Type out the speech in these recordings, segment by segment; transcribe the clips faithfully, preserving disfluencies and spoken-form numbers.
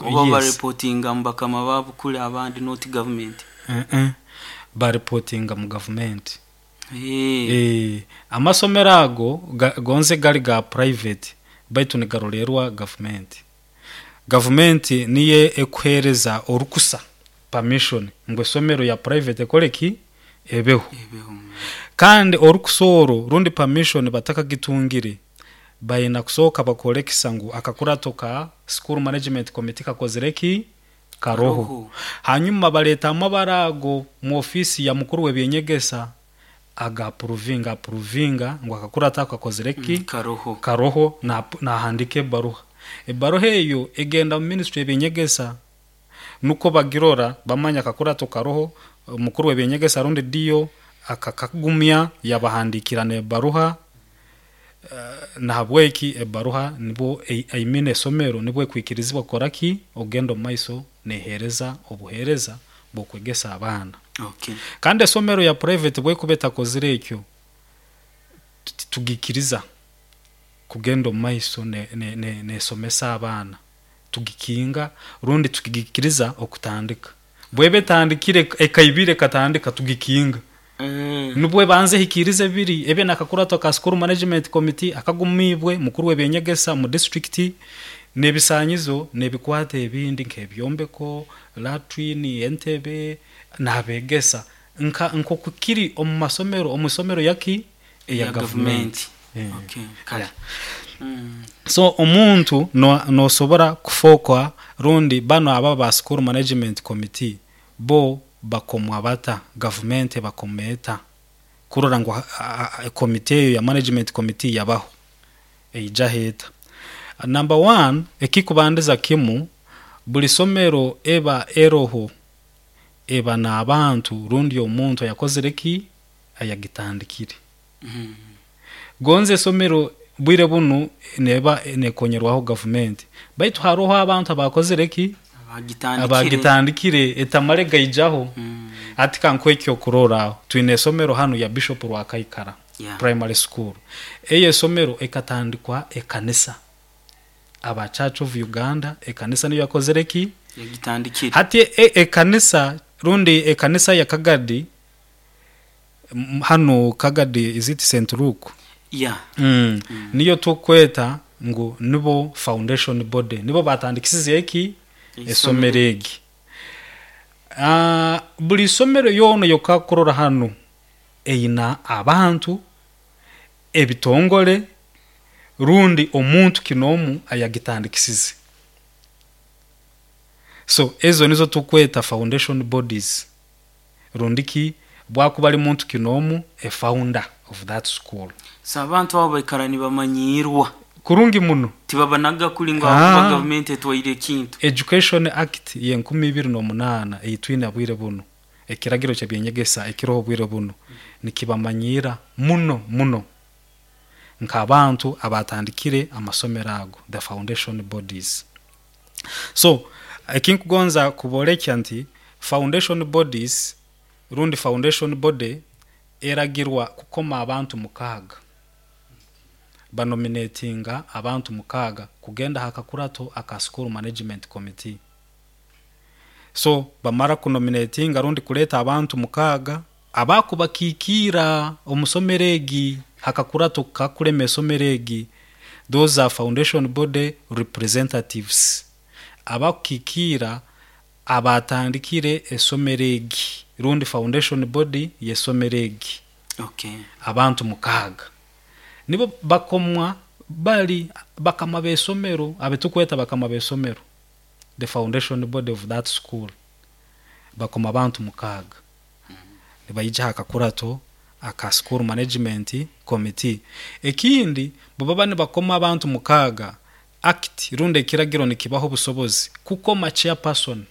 Oba Yes. Bareportinga mu bakama baabo kuli abandi, not government? Uh -uh. Bareportinga mu gavumenti. Eh, Eh, amasomero ago ga- gonze gali ga private, baitu nigarolerwa gavumenti. Gavumenti niye ekuhereza orukusa, permission, ngu esomero ya private ekole ki? Ebeho. Ebeho. Kandi orukusa oru rundi permission batakagitungire, bayina kusooka bakolekisa ngu akakurato ka school management committee kakozire ki? Karoho. Karoho. Hanyuma baleeta amabara ago mu ofisi ya mukuru w'ebyenyegesa, aga approvinga approvinga ngu akakurato ako kakozire ki? Mm, karoho. Karoho. na- nahandika ebaruha. Ebaruha eyo egenda mu ministry ebyenyegesa, nuko bagirora, bamanya akakurato karoho. Omukuru w'ebyenyegesa rundi diyo akakagumya, yabahandikira nebaruha. uh, nahabweki ebaruha nibwo ei- I mean esomero nibwo ekwikirizibwa kukora ki? Ogenda omu maiso nehereza obuhereza bw'okwegesa abaana. Okay. Kandi esomero ya private bwekuba etakozire ekyo, tu- tugikiriza kugenda omu maiso nesomesa ne, ne, nesomesa abaana. Tugikinga rundi tukigikiriza okutandika. Bweba etandikire, ekaibire ekatandika, tugikinga. Mm. Nubwo ebanze hikirize biri ebe nakakurato ka school management committee akagumibwe mukuru w'ebyenyegesa mu district, n'ebisanyizo n'ebikwata ebindi nk'ebyombeko, latrine, entebe n'abegesa, nka nkoku kiri omu masomero, omu isomero yaki? Eya Ya gavumenti. Eh. Okay. Kale. Yeah. Mm. So omuntu no- nosobora kufokwa rundi bano aba ba school management committee bo bakomwa bata? Gavumenti bakometa kurora ngu a- a- a- komite eyo ya management committee yabaho, eija heta. Number one, ekikubandiza kimu, buli somero eba eroho eba n'abantu rundi omuntu yakozire ki? Ayagitandikire. Mm. Gonze esomero bwire bunu neba nekonyerwaho gavumenti, baitu haroho abantu abakozire ki? Abagitandikire. Abagitandikire, etamale gaijaho. Mm. Ati kankwekyo okuroraho, twine esomero hanu ya Bishop Rwakaikara Yeah. Primary School. Eyo esomero ekatandikwa ekanisa, aba Church of Uganda. Ekanisa niyo yakozire ki? Yagitandikire. Hati e, ekanisa rundi ekanisa ya Kagadi, m- hano Kagadi, is it Saint Luke? Yeah. mm. niyo tukweta ngu nibo foundation body, nibo batandikisize eki? Esomero egi. Ah, buli somero yoona yokakurora hano eyina abantu, ebitongole rundi omuntu kinomu ayagitandikisize. So ezo nizo tukweta foundation bodies, rundi ki bwakuba ali muntu kinomu, a founder of that school. So abantu abo baikara nibamanyirwa? Kurungi muno. Tibabanaga kuli ngu Ah. abakuba gavumenti etwaire ekintu? Education Act yenkumi ibiri n'omunaana eyitwine bwire buno, ekiragiro kyebyenyegesa ekiroho bwire buno, nikibamanyira muno muno nk'abantu abatandikire amasomero ago, the foundation bodies. So ekinkugonza kubolekya nti foundation bodies rundi foundation body eragirwa kukoma abantu mukaaga, banominatinga abantu mukaaga kugenda hakakurato aka school management committee. So bamara kunominatinga rundi kuleta abantu mukaaga abakubakiikira omusomero egi hakakurato kakulema esomero egi. Those are foundation body representatives, abakukiikira abatandikire esomero egi rundi foundation body y'esomero egi. Okay. Abantu mukaaga nibo bakomwa, bali bakama b'esomero, abetukweta bakama b'esomero, the foundation body of that school. Bakoma abantu mukaaga, nibaija hakakurato aka school management committee. Ekindi, bwe nibakoma abantu mukaaga, act rundi ekiragiro nikibaho obusobozi kukoma chairperson.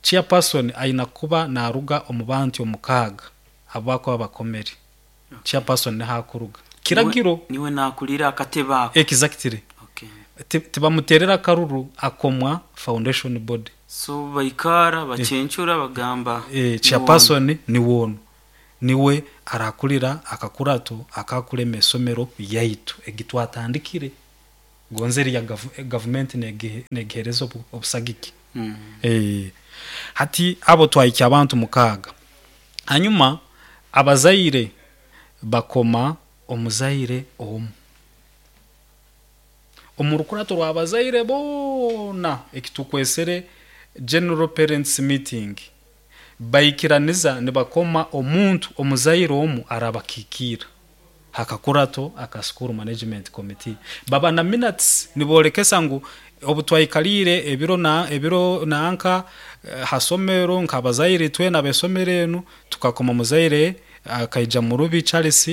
Chairperson aina kuba naruga omu bantu omukaaga abakuba bakomere. Chairperson nihakuruga kiragiro. Niwe nakulira akatebe ako? Exactly. Okay. Ti- tibamuterera akaruru, akomwa foundation body. So baikara bacencura bagamba eh, chairperson ni wono, niwe arakulira akakurato akakulema esomero yaitu egitwatandikire. Gonze eriya gavu- gavumenti negi- negihereza obu- obusagiki. Mm. Eh, hati abo twahikya abantu mukaaga. Hanyuma abazaire bakoma omuzaire omu omu rukurato rw'abazaire boona, ekitukwesere general parents meeting, baikiraniza nibakoma omuntu omuzaire omu arabakikiira hakakurato aka school management committee. Baba na minutes nibolekesa ngu obu twaikaliire ebiro na ebiro nanka, eh, hasomero nk'abazaire twena ab'esomero enu tukakoma muzaire akaija Murubi Charles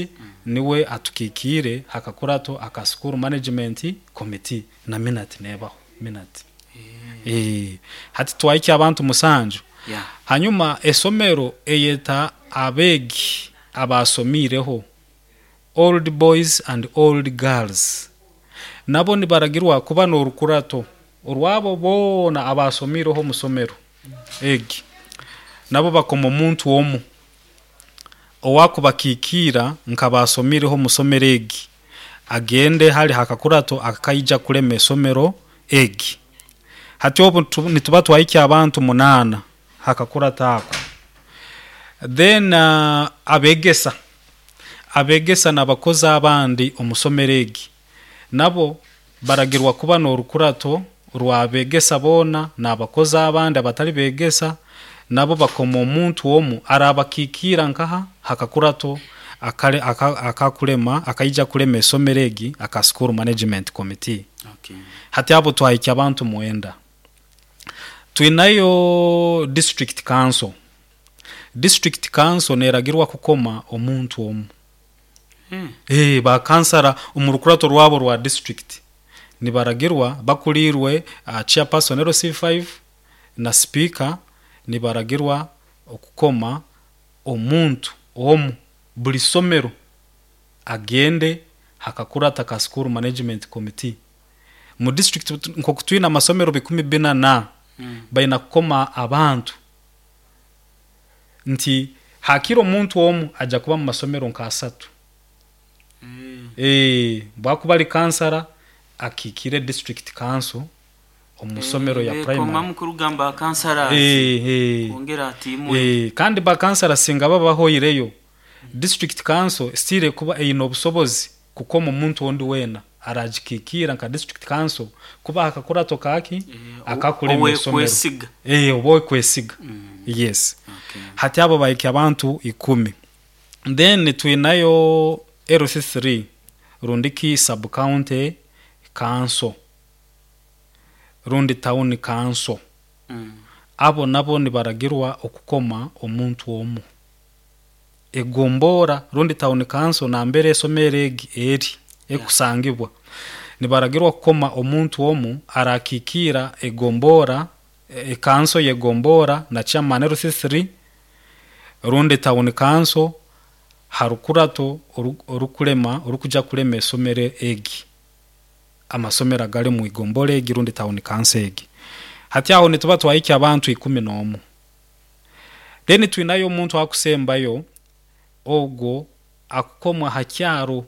niwe atukikiire hakakurato aka school management committee, na minute nebaho minute. Eh, hati twahikya abantu musanju. Yeah. Hanyuma esomero eyeta abeegi abasomiireho, old boys and old girls, nabo nibaragirwa kuba n'orukurato orwabo boona abasomiireho omusomero egi. Nabo bakoma omuntu omu owakubakikiira nk'abasomiireho omusomero egi, agende hali hakakurato akaija kulema esomero egi. Hati obu tu- nituba twahikya abantu munaana hakakurato ako. Then uh, abegesa abegesa n'abakozi abandi omusomero egi nabo baragirwa kuba n'orukurato rwabegesa boona n'abakozi abandi abatali begesa. Nabo bakoma omuntu omu arabakikiira nkaha hakakurato akale aka- akakulema akaija kulema esomero egi aka school management committee. Okay. Hati abo twahikya abantu mwenda. Twinayo district council. District council neragirwa kukoma omuntu omu. Eh. Eh, bakansara omu rukurato rwabo rwa district nibaragirwa bakulirwe uh, chairperson L C five na speaker, nibaragirwa okukoma omuntu omu buli somero agende hakakurata ka school management committee mu district. Nkoku twine amasomero bikumi bina na Mm. baina kukoma abantu nti hakiri omuntu omu aja kuba mu masomero nka asatu. Eh. Eh, bwakuba ali kansara akikire district council omu somero ya Eh, primary. koma mukuru gamba kansara Eh, eh. kwongera atiimwe. Eh, kandi bakansara singa babahoireyo, district council still kuba eine obusobozi kukoma omuntu ondi weena aragikikira nka district council kuba akakurato kaki Eh, akakulema owe esomero. kwesiga. Eh, oba okwesiga. Mm. Yes. Okay. Hati abo bahika abantu ikumi. Then twinayo L C three rundiki sub county council rundi town council. Mm. Abo nabo nibaragirwa okukoma omuntu omu egombora rundi town council nambere esomero egi eri ekusangibwa, nibaragirwa kukoma omuntu omu arakikira egombora, ekanso yegombora na chairman L C three rundi town council harukurato oru- orukulema orukuja kulema esomero egi, amasomero agali mu igombora egi rundi town council egi. Hati aho nituba twahikya abantu ikumi n'omu. Then twinayo omuntu akusembayo, ogwo akukomwa ha kyaro.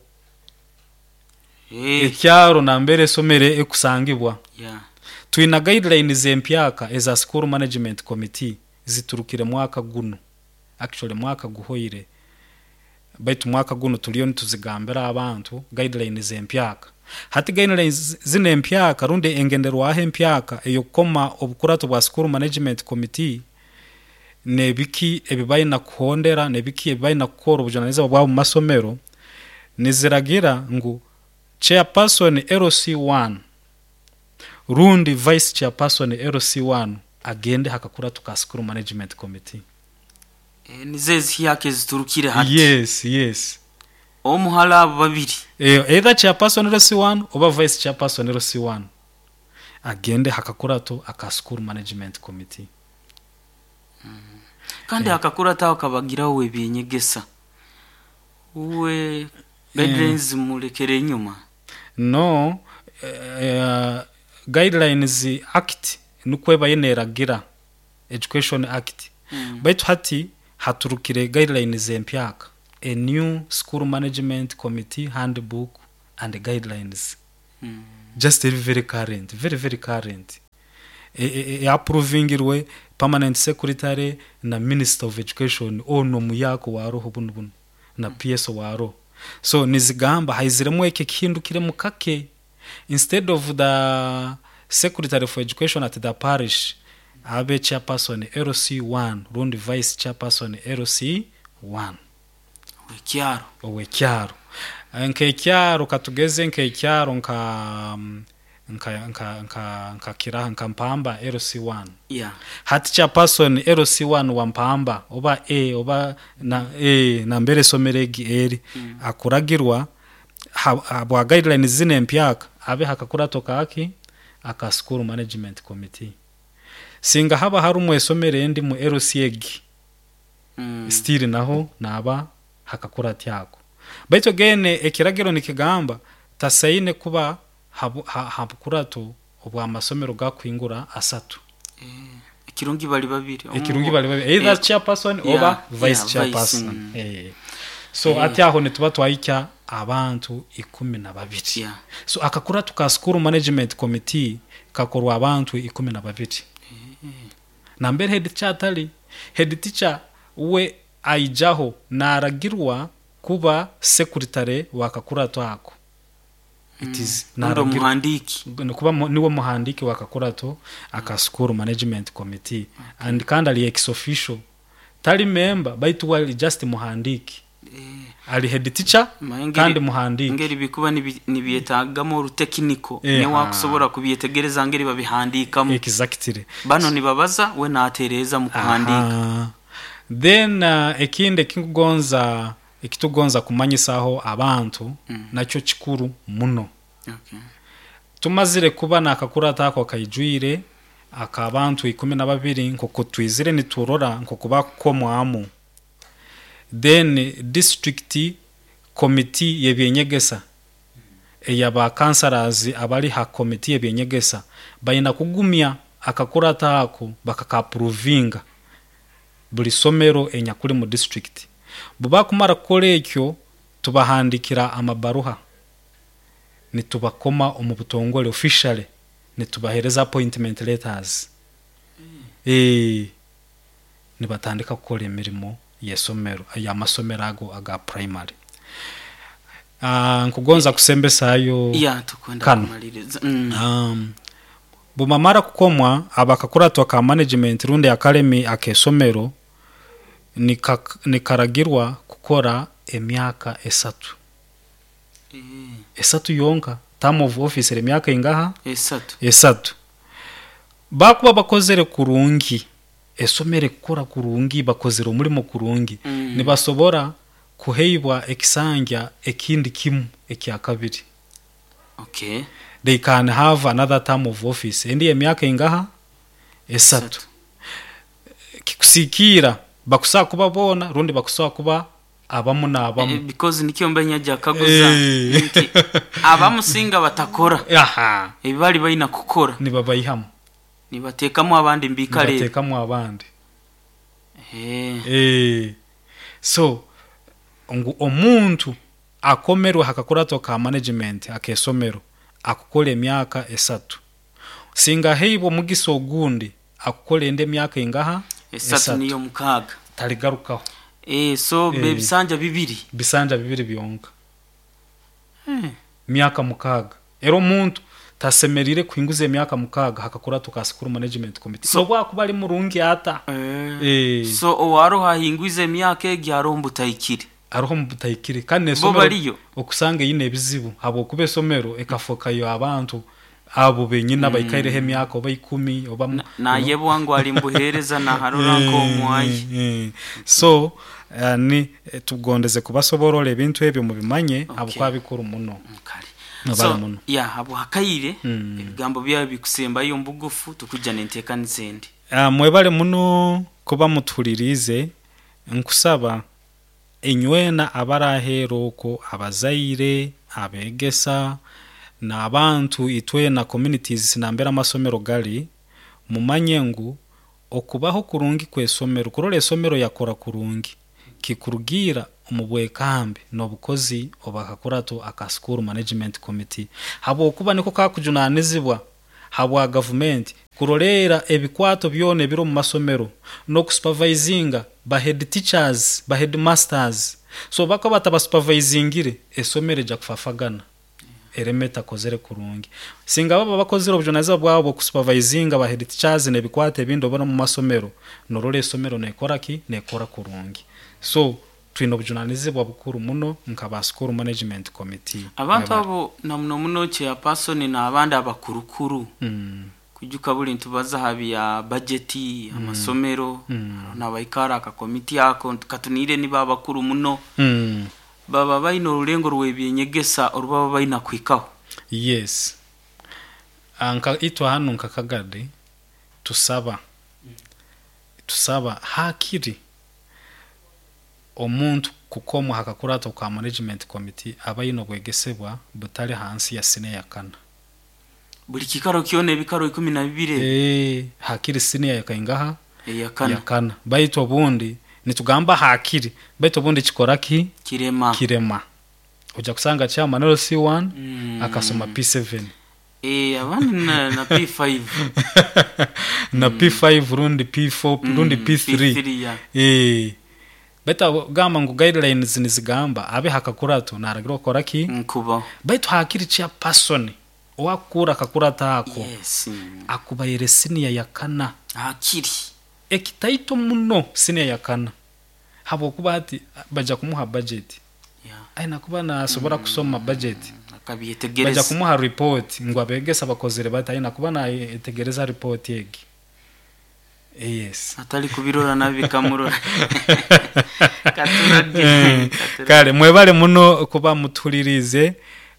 Eh, ekyaro nambere esomero ekusangibwa. Yeah. Twina guidelines empyaka eza school management committee ziturukire mwaka guno, actually mwaka guhoire, baitu mwaka guno tuliyo nituzigambira abantu guidelines empyaka. Hati guidelines zino empyaka rundi engenderwaho empyaka eyokukoma obukurato bwa school management committee nebiki ebibalina kuhondera, nebiki ebibalina kukora obujunanizibwa bwabo mu masomero, niziragira ngu chairperson L C one rundi vice chairperson L C one agende hakakurato ka school management committee. Eh, nizo zihiyake ziturukire hati. yes yes Omuhala abo babiri. Eh, either chairperson L C one oba vice chairperson L C one agende hakakurato aka school management committee. Kandi akakurataho kabagiraho ebyenyegesa, uwe guidelines mulekere enyuma. No, uh, guidelines act nukwo eba neragira, Education Act. Mm. Baitu hati haturukire guidelines empyaka, a new school management committee handbook and guidelines. Mm. Just eri very current, very very current, e- e- e- approvingirwe permanent secretary na minister of education ono muyako waroho bunu bunu na P S waroho. So nizigamba haiziremu eki kihindukiremu kake. Instead of the secretary for education at the parish abe chairperson L C one rundi vice chairperson L C one. Ekyaro. Owekyaro, nkekyaro katugeze nkekyaro nka nka nka nka nka Kiraha, nka Mpamba L C one. Yeah hati chairperson L C one wa Mpamba oba a oba na e nambere esomero egi eri mm. akuragirwa ha- ha- bwa guidelines zino empyaka abe hakakurato kaki aka school management committee. Singa haba harumu esomero endi mu L C egi, Mm. still naho naba hakakurati ako, baitu gene ekiragiro nikigamba tasaine kuba habu- ha- habukurato obwamasomero gakwingura asatu. Eh, ekirungi bali babiri. Ekirungi bali babiri, either Eh, chairperson yeah, oba vice yeah, chairperson. Vice, mm. Eh. So Eh. ati aho nituba twahikya abantu ikumi na babiri. Yeah so akakuratu ka school management committee kakorwa abantu ikumi na babiri, nambere head teacher atali. Head teacher we aijaho naragirwa kuba secretary wakakurato ako. It is Rundi naragirwa omuhandiki. Kuba mu- niwe muhandiki wakakurato aka school management committee, and kandi ali ex officio, tali member, baitu wali just muhandiki. Eh, ali head teacher ma engeri- kandi muhandiki. Ngeri bikuba nibi- nibyetagamu orutekiniko, Eh, newakusobola kubyetegereza ngeri babihandikamu. Exactly. Bano nibabaza, we natereeza mu kuhandika. Aha. Then uh, ekindi ekinkugonza, ekitugonza kumanyisaho abantu, Mm. nakyo kikuru muno. Okay. Tumazire kuba nakakurata ako kaijwire akabantu ikumi na babiri, nkoku twizire niturora nkoku bakukomwamu, then district committee yebyenyegesa eyaba councillors abali ha committee yebyenyegesa bayina kugumya akakurata ako, bakakaapprovinga buli somero enyakuli mu district. Bwe bakumara kukora ekyo, tubahandikira amabaruha nitubakoma omu butongole officially, nitubahereza appointment letters. Eh, nibatandika kukora emirimo yesomero, y'amasomero ago aga primary. uh, nkugonza kusembesayo Ya, tukwenda kano. kumaliriza. Mm. um, bumamara kukomwa abakakuratwa ka management rundi academy akesomero, nika- nikaragirwa kukora emyaka esatu. Eh, Esatu yonka. Term of office emyaka ingaha? Esatu. Esatu. Bakuba bakozere kurungi esomere, kukora kurungi, bakozere omulimo kurungi, Mm. nibasobora kuheibwa ekisanja ekindi kimu ekyakabiri. Okay They can have another term of office endi emyaka ingaha? Esatu. Kikusikiira bakusaa kuba boona rundi bakusaa kuba abamu n'abamu. Eh, because nikyo mba nyajja akaguza Eh. nti abamusinga batakora Aha. ebi bali balina kukora, nibabayihamu, nibateekamu abandi mbikale. Nibateekamu abandi. Eh, Eh. So ngu omuntu akomerwe hakakurato ka management akesomero akukola emyaka esatu, singa heibwa omugisa ogundi akukola ende emyaka ingaha? Esatu, niyo mukaaga. Taligarukaho. Eh, so Eh. bebisanja bibiri. Bisanja bibiri byonka. Eh, Myaka mukaaga. Era omuntu tasemerire kuhinguza emyaka mukaaga hakakurato ka school management committee, so bwakuba ali murungi ata. eh. Eh, so owaroho ahingwize emyaka egi aroho mbutahikire. Aroho mubutahikire kandi Bo nesomero bariyo. Okusanga eyine ebizibu habwokuba esomero ekafokayo abantu abo benyini abaikaireho emyaka oba ikumi oba mu- Nayebwa ngu ali mbuheereza naharora nk'omwayi. Eh, eh. So uh, ni eh, tugondeze kubasoborora ebintu ebyo mubimanye, Okay. habwokuba bikuru muno. Kale. Nabale So muno. ya habwakaire Mm. ebigambo byawe bikusembayo mbugufu, tukujja nenteekaniza endi. Uh, mwebale muno kuba mutuhulirize. Nkusaba inywena abaraheera okwo, abazaire, abegesa n'abantu itwena communities nambere amasomero gali, mumanye ngu okubaho kurungi kwesomero, kurora esomero yakora kurungi. Kikurugira omu bwekambi n'obukozi obwakakurato aka school management committee, habwokuba niko kakujunanizibwa habwa gavumenti kuroleera ebikwato byona ebiri omu masomero n'okusupervisinga ba head teachers, ba headmasters. So bakuba batabasupervisingire, esomero ejja kufafagana ereme etakozere kurungi. Singa baba bakozere obujunanizibwa bwabo okusupervisinga ba head teachers n'ebikwato ebindi obona omu masomero, norora esomero nekora ki? Nekora kurungi. So twine obujunanizibwa bukuru muno nka ba school management committee. Abantu abo na muno muno chairperson n'abandi abakurukuru, mm. kujuka buli ntubaza ha bya bajeti amasomero, Mm. nabaikara akakomiti ako katunire niba abakuru muno, Mm. baba baina orulengo rw'ebyenyegesa orubaba baina kuhikaho. Yes, nka itwe hanu nka Kagadi tusaba tusaba hakiri omuntu kukomwa hakakurato ka management committee aba ayine obwegesebwa butali hansi ya senior ya kana. Buli kikaro kyona, ebikaro ikumi na bibiri? Eh, hakiri senior yakaingaha? Eyakana. Yakana. Baitu obundi nitugamba hakiri, baitu obundi kikora ki? Kirema. Kirema. Ojja kusanga chairman L C one Mm. akasoma P seven. Eh, abandi na, na P five. Na P five rundi P four rundi Mm, P three. P three, ya. Eh, baitu gamba ngu guidelines nizigamba abe hakakurato naragira okora ki? Nkuba. Baitu hakiri chairperson owakura akakurato ako yes akubaire senior yakana. Hakiri. Ekitaito muno senior yakana, habwokuba hati bajja kumuha budget, yeah. aina kuba nasobora kusoma budget. Bajja Akabyetegereza. Kumuha report ngu abegesa bakozere bati, aina kuba nayetegereza report egi. Yes. Atali kubirora nabi bikamurora. Katurage. Eh, Katurage. Kale mwebale muno kuba mutulirize,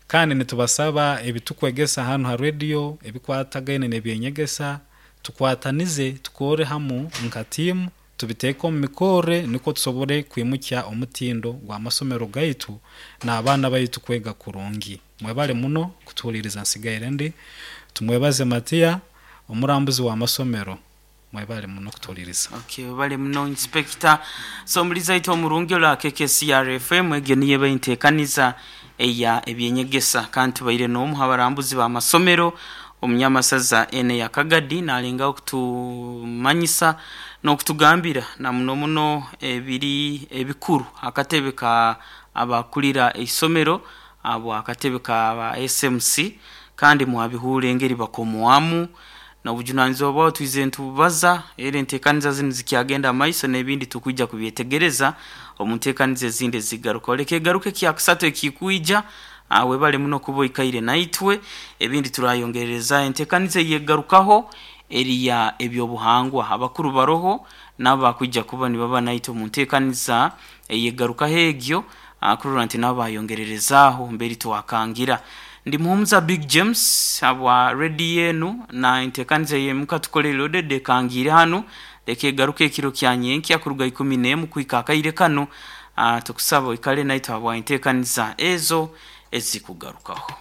kandi nitubasaba ebitukwegesa hanu ha radio ebikwatagaine nebyenyegesa tukwatanize, tukore hamu nka tiimu, tubiteeke omu mikore niko tusobole kwimukya omutindo gw'amasomero gaitu n'abaana baitu kwega kurungi. Mwebale muno kutuhuliriza. Nsigaire ndi tumwebaze Matiya, omurambuzi w'amasomero. Mwebale muno kutuhuliriza. Okay, bale muno, inspector. So muliza ito omurungi ola K K C R F M, egyo niyo baintekaniza eya ebyenyegesa, kandi tubaire n'omu abarambuzi b'amasomero omunyamasaza ene ya Kagadi, nalenga okutumanyisa n'okutugambira na muno muno ebiri ebikuru akatebe ka abakulira isomero abo akatebe ka ba S M C. Kandi mwabihuura engeri bakomwamu nobujunanizibwa bwabo. Twize ntubaza era entekaniza zinu zikyagenda maiso n'ebindi tukwijja kubyetegereza omu ntekaniza ezindi ezigaruka. Oleka egaruke ekyakusatu ekikwija. Webale muno kuba oikaire naitwe. Ebindi turayongerereza entekaniza eyegarukaho eriya ebyobuhangwa. Abakuru baroho nabo bakwijja kuba nibaba naitwe omu ntekaniza eyegarukaho egyo, kurora nti nabo bayongererezaaho mberi twakangira. Ndi Muhumuza Big James habwa rediyo enu na entekaniza yemuka tukolere lodede kangire hanu. Leka egaruke ekiro kya nyenkya kuruga ikumi n'emu kuhika akaire kanu. uh, tukusaba oikale naitwe habwa entekaniza ezo ezikugarukaho.